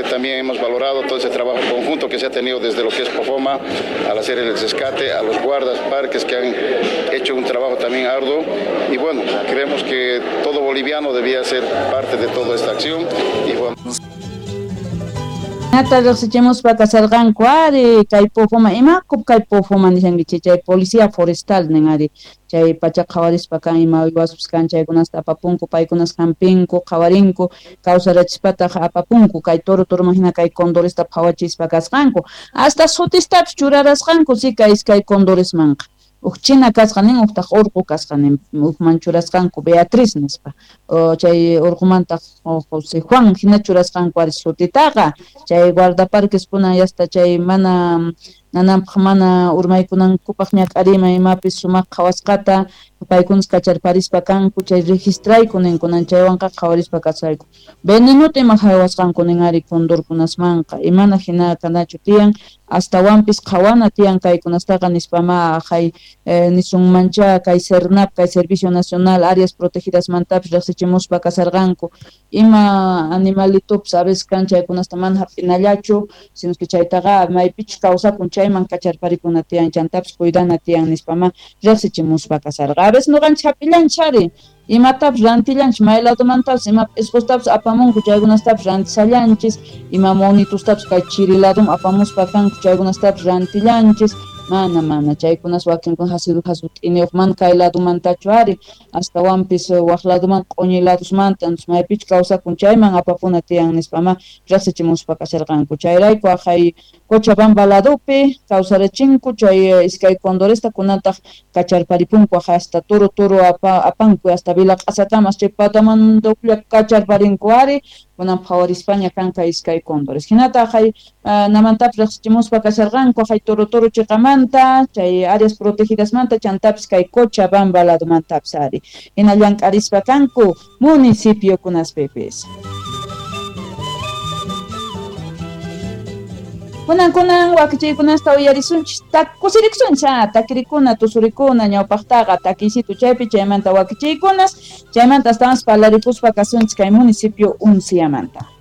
También hemos valorado todo ese trabajo conjunto que se ha tenido desde lo que es POFOMA, al hacer el rescate, a los guardas parques que han hecho un trabajo también arduo. Y bueno, creemos que todo boliviano debía ser parte de toda esta acción. Y bueno. Nata riqsichimuspa kasarqanku ari kay Pofoma, imakup kay Pofoma nishankichik chay policía forestal nin ari chay pacha qhawarispa kan ima uywaspas kan chaykunasta apapunku paykunas hampinku qhawarinku kawsarachispataq apapunku kay toro toroman hina kay condoresta phawachispa kasqanku hasta sutistapis churarasqanku si kay iskay condoresmanqa uj china kasqa nin ujtaq urqu kasqa nin ujman churasqanku Beatriz nispa chay urqumantaq José Juan hina churasqanku ari sutitaqa chay guardaparques kunan yasta chay mana nananpaq mana urmaykunankupaq ñak'ariyman imapis sumaq qhawasqata paykunas kacharparispa kanku chay registrayku ninkunan chaywanqa qhawarispa kasqayku venenota ima haywasqanku nin ari condorkunasmanqa imana hina kanachu tiyan astawanpis qhawana tiyan kaykunastaqa nispama hay nisunmancha kay SERNAP kay Servicio Nacional Áreas Protegidasmantapis riqsichimuspa kasarqanku ima animalitopis a veces kan chaykunasta mana hap'inallachu sino que chaytaqa maypichus kawsakun chayman kacharparikuna tiyan chantapis cuidana tiyan nispama riqsichimuspa kasarqa a veces nuqanchik hap'illanchik ari imatapis rantillanchik may ladomantapis ima p'isqustapis apamunku chaykunastapis rantisallanchis ima monitustapis kay chiri ladoman apamuspa kanku chaykunastapis rantillanchis mana chaykunas wakinkuna hasut'iniyuq mana kay ladomantachu ari astawanpis waq ladomanta q'uñi ladosmanta maypichus kawsakun chayman apapuna tiyan nispama riqsichimuspa kasharqanku chayrayku aqhay Cochabamba ladopi kawsarachinku chay iskay condoresta kunantaq kacharparipunku hasta toro toro apanku hasta Vila Q'asakamas chay patamanduqlla kacharparinku ari kunan phawarispaña kanka iskay condores hinata aqhay namantapis riqsichimuspa kasharqanku aqhay toro toro chiqamanta chay áreas protegidasmanta chantapis kay Cochabamba ladomantapis ari hina llank'arispa kanku municipiokunaspipis. Kunan wakichiykunasta uyarisunchik kusirikusunchik takirikuna tusurikuna ñawpaqtaqa takiysitu chaypi chaymanta wakichiykunas chaymanta astawanpas parlarikuspa kasunchik kay municipio Unciamanta.